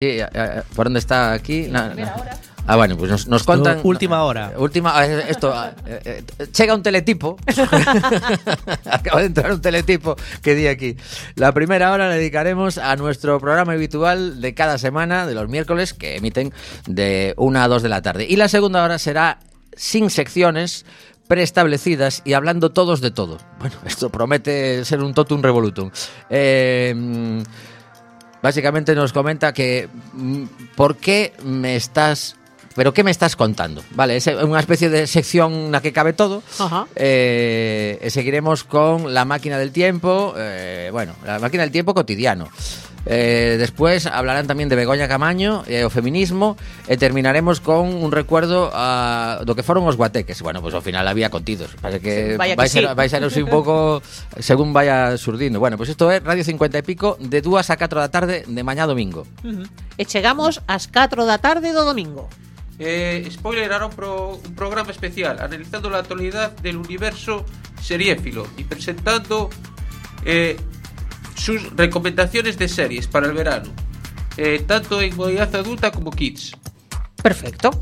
Sí, ¿por dónde está aquí? Bueno, pues nos contan. Última hora. Chega un teletipo. Acaba de entrar un teletipo que di aquí. La primera hora la dedicaremos a nuestro programa habitual de cada semana, de los miércoles, que emiten de 1 a 2 de la tarde. Y la segunda hora será sin secciones preestablecidas y hablando todos de todo. Bueno, esto promete ser un totum revolutum. Básicamente nos comenta que ¿por qué me estás... ¿Pero qué me estás contando? Vale, es unha especie de sección na que cabe todo. Seguiremos con la máquina del tiempo. La máquina del tiempo cotidiano. Después hablarán tamén de Begoña Camaño e o feminismo. E terminaremos con un recuerdo do que foron os guateques. Bueno, pues ao final había contidos. Parece que vai ser un pouco según vaya surdindo. Bueno, pues isto é Radio 50 e pico de 2 a 4 da tarde de mañá domingo. E chegamos ás 4 da tarde do domingo. Spoiler, hará un programa especial analizando la actualidad del universo seriéfilo y presentando sus recomendaciones de series para el verano, tanto en modalidad adulta como kids. Perfecto.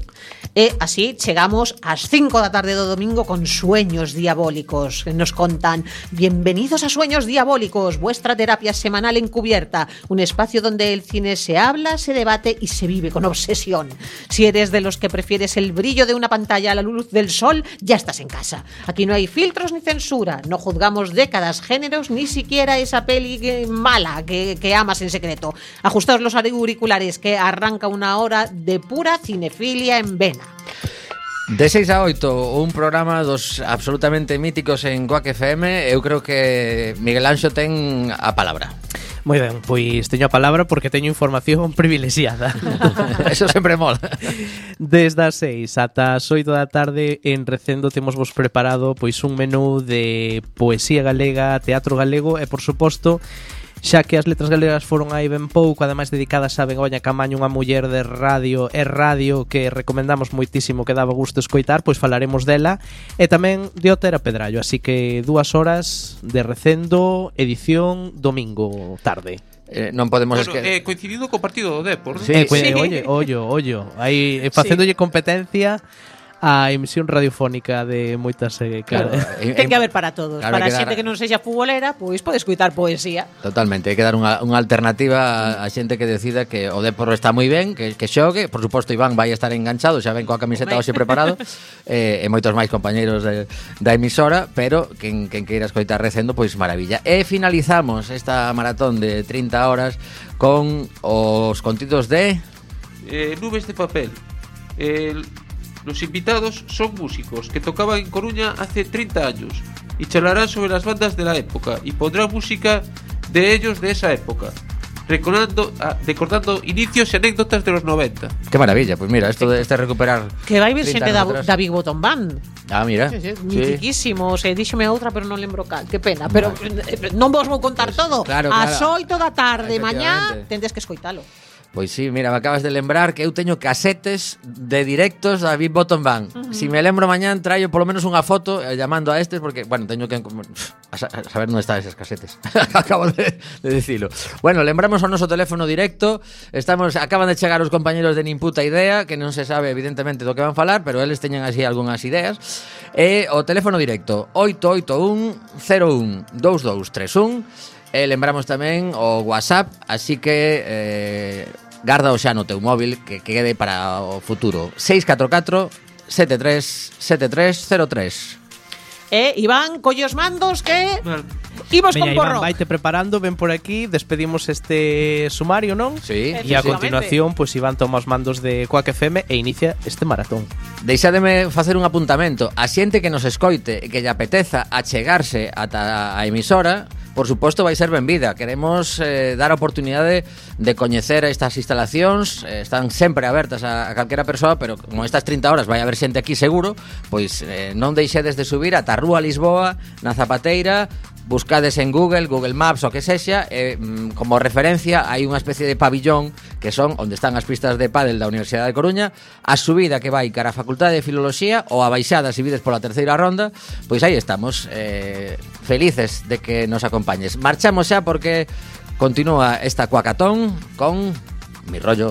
E así chegamos ás 5 da tarde do domingo con Sueños Diabólicos. Nos contan: bienvenidos a Sueños Diabólicos, vuestra terapia semanal encubierta, un espacio donde el cine se habla, se debate y se vive con obsesión. Si eres de los que prefieres el brillo de una pantalla a la luz del sol, ya estás en casa. Aquí no hay filtros ni censura, no juzgamos décadas, géneros, ni siquiera esa peli mala que amas en secreto. Ajustaos los auriculares que arranca una hora de pura cinefilia en vena. De 6 a 8, un programa dos absolutamente míticos en Quack FM. Eu creo que Miguel Anxo ten a palabra. Moi ben, pois teño a palabra porque teño información privilexiada. Eso sempre mola. Desde as 6 ata as 8 da tarde en Recendo temos vos preparado pois un menú de poesía galega, teatro galego e, por suposto, xa que as letras galegas foron aí ben pouco, ademais dedicadas a Begoña Camaño, unha muller de radio e radio que recomendamos moitísimo, que daba gusto escoitar, pois falaremos dela, e tamén de Otera Pedrallo, así que 2 horas de Recendo, edición domingo tarde. Non podemos coincidido co partido do Depor, ¿no? Sí. Ollo, aí facéndolle competencia a emisión radiofónica de moitas claro, ten que haber para todos, claro, para a xente que non sexa futbolera, pois pode escoitar poesía. Totalmente, hai que dar unha alternativa a xente que decida que o Depor está moi ben, que xogue. Por suposto, Iván vai estar enganchado, xa ven coa camiseta hoxe preparado, e moitos máis compañeiros da emisora, pero quen queira escoitar Recendo, pois maravilla. E finalizamos esta maratón de 30 horas con os contidos de Nubes de papel. Los invitados son músicos que tocaban en Coruña hace 30 años y charlarán sobre las bandas de la época y pondrán música de ellos de esa época, recordando inicios y anécdotas de los 90. Qué maravilla, pues mira, esto de recuperar que vai vir xente da Big Bottom Band. Mira. Mitiquísimo, díxome a outra, pero non lembro cal. Que pena, pero non vos vou contar todo. Claro. Ás 8 da tarde mañá tendes que escoitalo. Pois sí, mira, me acabas de lembrar que eu teño casetes de directos da Big Bottom Band. Si me lembro mañán, traio polo menos unha foto llamando a estes, porque, bueno, teño que saber onde están eses casetes. Acabo de dicilo. Bueno, lembramos o noso teléfono directo. Acaban de chegar os compañeros de Nin Puta Idea, que non se sabe evidentemente do que van falar, pero eles teñen así algunhas ideas. E o teléfono directo 881 01 2231. Lembramos tamén o WhatsApp, así que garda o xa no teu móvil, que quede para o futuro. 644 7303. Iván, colle os mandos que imos con porro. Iván, vaite preparando, ven por aquí, despedimos este sumario, non? Sí. E a continuación, pois Iván toma os mandos de Quack FM e inicia este maratón. Deixádeme facer un apuntamento. A xente que nos escoite e que lle apeteza achegarse ata a emisora, por suposto, vai ser benvida. Queremos dar a oportunidade de coñecer estas instalacións. Están sempre abertas a calquera persoa, pero como estas 30 horas vai haber xente aquí seguro, pois non deixedes de subir ata a Rúa Lisboa, na Zapateira. Buscades en Google Maps o que sexa, como referencia hai unha especie de pabillón que son onde están as pistas de pádel da Universidade de Coruña. A subida que vai cara a Facultade de Filoloxía ou a baixada se vides pola terceira ronda, pois aí estamos, felices de que nos acompañes. Marchamos xa porque continúa esta cuacatón con Mi rollo.